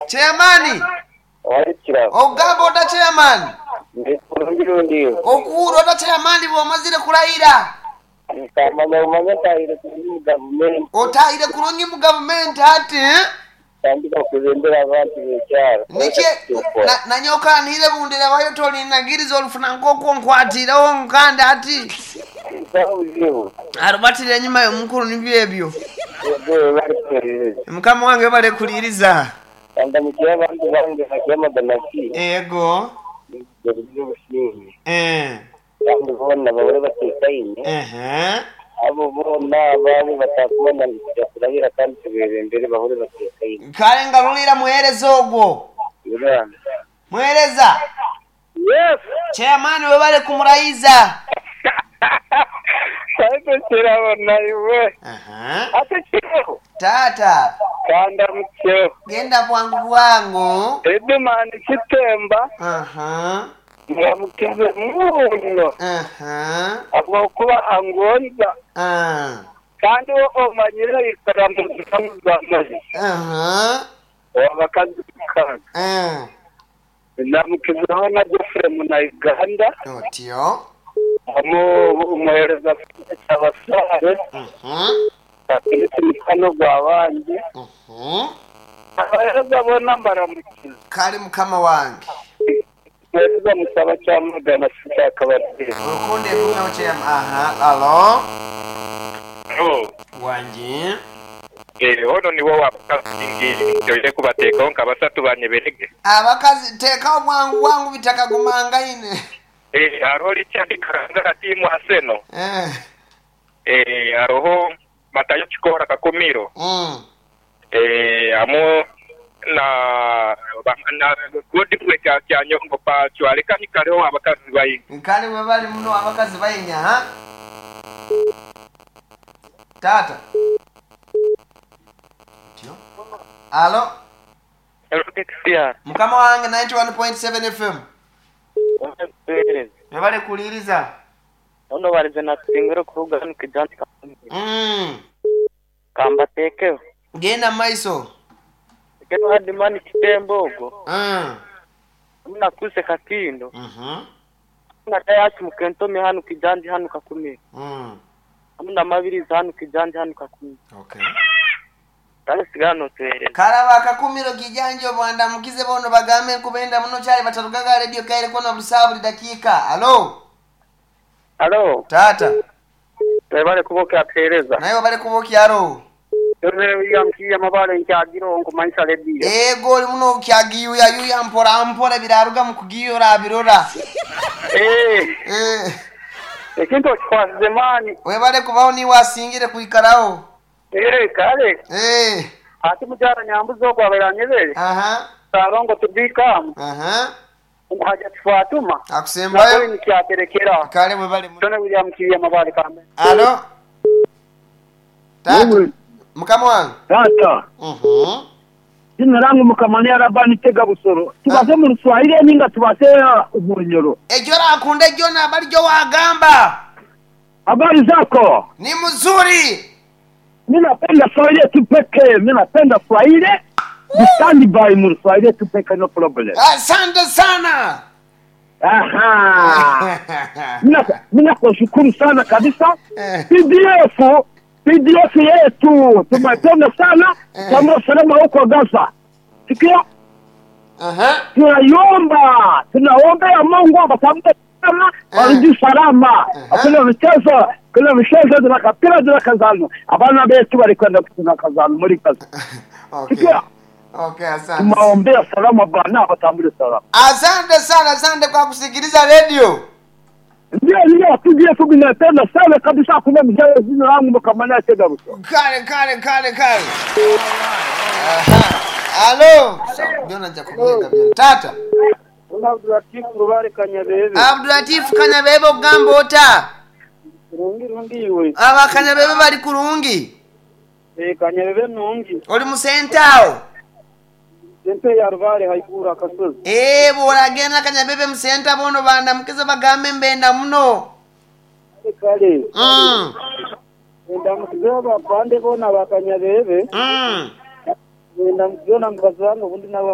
Chairman, ogamba ota chairman? Ndi bulungi lundi iwe. Okuwuura ota chairman bw'omazire kulayira? Nkamanya bumanya ntaahire kurungi mu gavumenti. Otaahire kurungi mu gavumenti ati? Ntandika kukulembera abantu b'ekyaro. Niki nanye okanhiire bundirebayo tolinagiriza olufuna nk'okwo nkwatiiregho nkandi ati. Busaho buzibu. Arubatira enyuma y'omukulu nibyo ebyo. Yego webale kuhuririza. Mukama wange webale kuliiriza. Kandamukye abantu bange bakyamagana ki? Yego. Nibaguriza obusinge. Eeh. Kandi boona bahurire bateekaine. Ehe. Abo boona abaabe batakumanya ngu twija kurahira kandi tubeebembere bahurire bateekaine. Kale ngarulira muheereza ogwo. Uganda. Muheereza. Yes. Chairman webale kumurayiza. Ate kirabo naiwe. Aha. Ate kirabo. Taata. Kandamukyeho. Genda bwangu bwangu. Edimani Kitemba. Aha. Muramukize muno. Aha. Habwokuba angonza. Ah. Kandi we omanyire aikara mu ntamu z'amaizi. Aha. Ow'abakazi mukaaga. Ah. Ndamukizeho na Geoffrey Munauganda. Otyo. Hamu omuheereza Peter Kyabasaale. Patrick Mukwano Gwabandi. Abaheereza boona mbaramukize. Kale mukama wange. Muheereza Musaba Kyamagana Sikyakabateera. Orukundo egumeho chairman. Aha, alo. Halo. Wangi. Eeh ono niwe owa bakazi ngi ntoire kubateekaho nka basatu banyeberege. Abakazi teekawo bwangu bwangu bitakagumangaine. Eeh hariho Richard Karangara tiimu Arsenal. Eeh. Eeh hariho Matayo Kikoora Kakumiro. Eeh hamu na na Godfrey Kyanyongo Pacho aleka ni kale owa bakazi baingi. Kale webale muno abakazi baingi aha. Taata. Otyo. Alo. Hello Dexia. Mukama wange 91.7 FM. Webale kutuhereza. Webale kuwuliriza. Ono barize natusingire okuruga hanu Kijanti Kakumiro. Mm. Kambateekeho. Genda mu maiso. Ntekeho Hardman Kitemba ogwo. Mm. Hamu na Kuse Kakindo. Mhm. Hamu na Dayasi Mukentomi hanu Kijanti hanu Kakumiro. Mm. Hamu na Mabirizi hanu Kijanti hanu Kakumiro. Okay. Kale sigala notuhereza. Kale aba Kakumiro Kijanji obwandamukize boona obagambe nkubenda muno kyali bataruga gha Radio kaire kona buli saawa buli dakiika. Alo. Alo. Taata. Webale kuba okyatuhereza. Naiwe webale kuba okyarogho. Nze William Kiiya Mabale nkyagira ogho nkumanyisa lediyo. Eego oli muno okyagiyuyayuya mpora mpora ebiraruga mu kugiya orabirora. Eeh. Eeh. Ekintu okikwasize maani. Webale kubaho niiwe asingire kwikaragho. Eeh kale. Eeh. Ati mukyala Nyambuzi ogwo abaire anyebere. Aha. Ssalongo Tubikamu. Aha. Ngu Hajati Fatuma. Akusembayo. Na Colin Kyaterekera. Kale webale muno. Tony William Kiiya Mabale Kambe. Alo. Taata. Mukama wange. Taata. Uhmm. Zina langu Mukama ni Arabani Tega Busoro. Tubaze mu Ruswahili ninga tubaze Orunyoro? Egyo orakunda egyo naba arigyo wagamba. Habari zako? Ni mzuri. Mi napenda Swahili tu pekee. Mi napenda Swahili. Ni stand by mu Ruswahili tu pekee no problem. Asante sana. Aha. Mi nakushukuru sana kabisa. PDF PDF yetu tumependa sana. Tamro salama huko Gaza. Sikia? Aha. Tunaiomba, tunaombea Mungu abatamke salama, warudi salama. Hakuna michezo, kuna michezo tunakapira tunakazano. Abana betu balikwenda tunakazano muri Gaza. Okay. Sikia? Okay, asante. Tunaombea salama bana abatambule salama. Asante sana, asante kwa kusikiliza radio. Ndio ndio PDF ninapenda sana kabisa hakuna mchezo jina langu mkamana tega buso. Kale kale kale kale. Aha. Alo. Byona nja kubyega byona. Taata. Abdulatif Rubare Kanyabebe. Abdulatif Kanyabebe ogamba ota? Kurungi rungi iwe. Aba Kanyabebe bali kurungi? Eh Kanyabebe nungi. Oli mu senta agho? Senta ya Rubare haiguru akasozi. Eeh bworagenda Kanyabebe mu senta boona obandamukize obagambe mbenda muno. Kale kale. Mm. Endamukizeho abapande boona aba Kanyabebe. Mm. Endamukizeho na mukazi wange obundi nawe.